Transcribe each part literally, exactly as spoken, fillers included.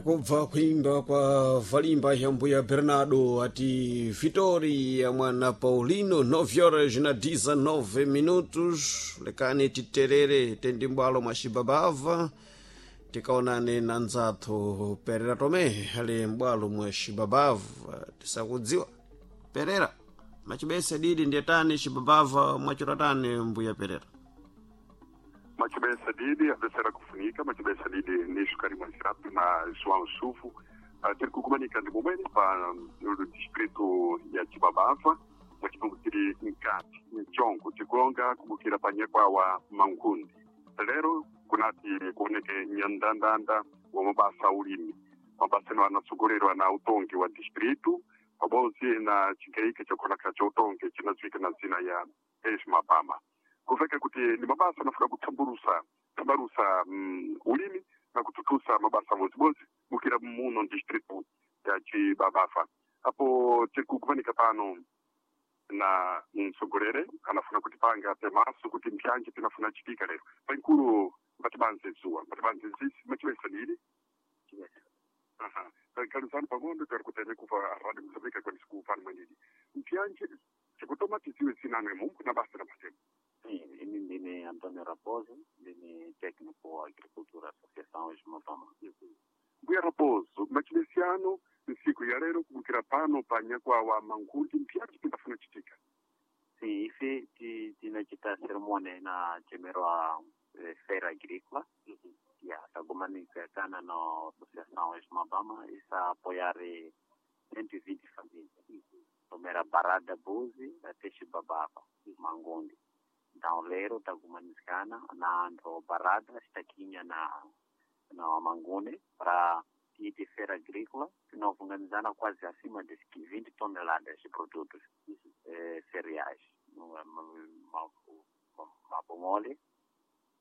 Kubva kuimba kwa valimba ya mbuya Bernardo ati Vitória mwana Paulino nove horas na dezenove minutos. Lekani titerere tendimbwalo mwa xibabava tikaonane na nzathu Perera Tomé ali mbwalo mwa xibabava tisakudziwa Perera machibese didi ndiyetani xibabava mwachiratani mbuya Perera. Machibesa didi avesera kufunika machibesa didi nisho kari mwazirapi na João Sufu uh, tiri kukumanika ndi momwene pa um, distrito ya Chibabava mwachipungu tiri mkati mchongo tikulonga kubukira panyekwa wa Mangundi. Lero kunati kuoneke nyandandanda wa mabasa ulimi, mabasa eno anatsogolerwa na utongi wa distrito pabodzi na chigaika chakuoneka cha utongi chinadziwika na zina ya Esmabama, kuveka kuti ni mabasa anafuna kutsamburusa tsambarusa mm, ulimi na kututusa mabasa bodzibodzi bukira muno distrito ya Chibabafa. Apo tikukumanika pano na mtsogolere anafuna kutipanga pemaso kuti mpyanje pinafuna chitika lero paikulu mpatibanze zuwa mpatibanze zisi machibesa dili. Aha, kaluzani pang'ono tari kutene kuva Radio Mozambique kwanisi kupano mwenidi mpyanje tikutoma tiziwe zinanwe mungu na basa na matemo. Sim, ini ndine Antônio Raposo, ndine técnico agricultura Associação Esmabama. Mbuya Raposo, machibesiano nsiku ya lero kubukira pano pa nyakwa wa Mangundi mpyanje pinafuna chitika. Sim, ife ti- tinachita cerimônia na chemerwa eh, feira agrícola. Yeah, tagumanikana na Associação Esmabama isa apoiar eh, cento e vinte famílias. Primeira Barada Buzi até Chibabava, Mangundi. Então, lero tagumanikana na anto Barada, estaquinha na na Mangune para ir de feira agrícola, que nós organizamos quase acima de vinte toneladas de produtos eh, cereais. Mabomole,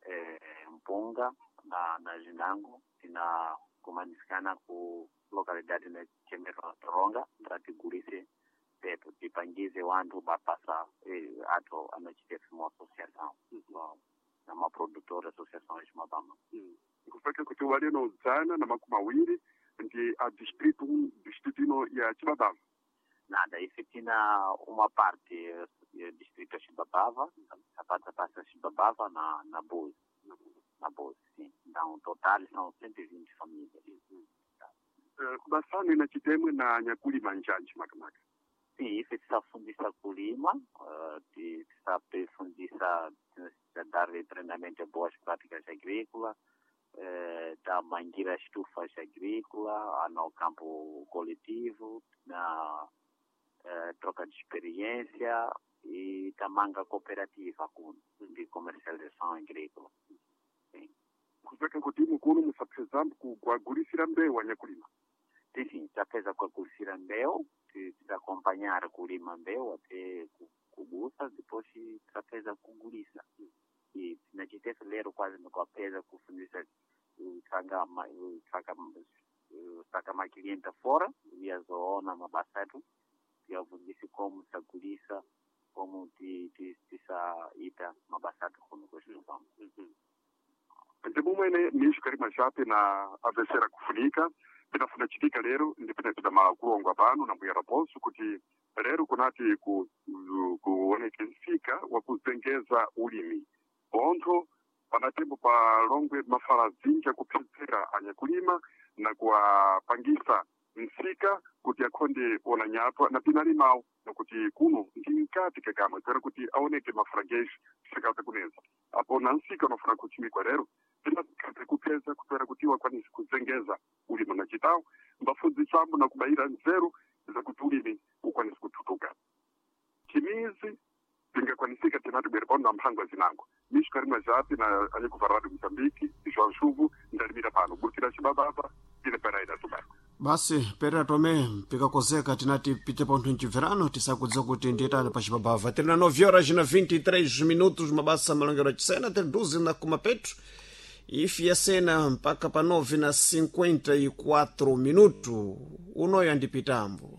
eh, mpunga na, na zinango tina kumanisana ku localidade na chemero Toronga para tigulise peto tipangize wantu bapasa eh, ato anachite uma associação na uma produtora associação Esmabama. Kufeka kuti waleno zana na makumi awiri ndi a distrito distrito ino ya Chibabava. Nada, isso tinha uma parte eh, distrito Chibabava, a parte passa Chibabava na na Búzios, na Búzios, sim. Então, total são cento e vinte famílias. Uh, basano ina chitemwe na nyakulima njanji makamaka. Sim, isso está fundista kulima, uh, está fundista dar treinamento de boas práticas agrícolas, eh, da mangueira estufas agrícola, no campo coletivo, na eh, troca de experiência e da manga cooperativa com, de comercialização agrícola. Sim. Kufeka kuti mukuno musapezambu kugulisira mbewu anyakulima. Sim, sim, tapeza kuagulisira mbeu, titaacompanhar kulima mbeu até kugusa, depois tapeza kugulisa. E tinachitesa lero quase nikuapeza kufundisa saka saka saka makilienta fora viazoona mabasa etu viavundisi como sagulisa como ti ti tisaita mabasa atu kuno kwesitupamo. Ndi mumwene nisho kalima chape na avesera kufunika pinafuna chitika lero ndi pinapita makulongwa pano na mbuya Raposo kuti lero kunati ku, kuoneke msika wa kuzengeza ulimi pontho panatembo pa longwe mafala zinja kupsedzera anyakulima na kuwapangisa msika kuti akhonde ona nyatwa na pinalimawo nakuti kuno ndi mkati kakamwe kwera kuti aoneke mafragejo sakata kuneza apo na msika unafuna kuchimikwa lero pinakati kupeza kutwera kuti wakwanise kuzengeza ulimi na chitawo mbafudzisambo na kubayira nzeru zakuti ulimi ukwanise kututuka chimizi tingakwanisika tinati bwere pano na mphango zinango misho karimwa japi na anyikuva Radio Mozambique João Chuvo ndalimira pano burukira Chibabava ine Pereira Tobago. Basi Perera Tomé pikakozeka tinati pite pontho mchibverano tisakudziwa kuti ndiyetani pa Chibabava. Tiri na nove horas na vinte e três minutos mabasa malongero achisena tiri duze na kuma petro ifi yasena mpaka pa nove na cinquenta e quatro minuto unoyo andipitambo.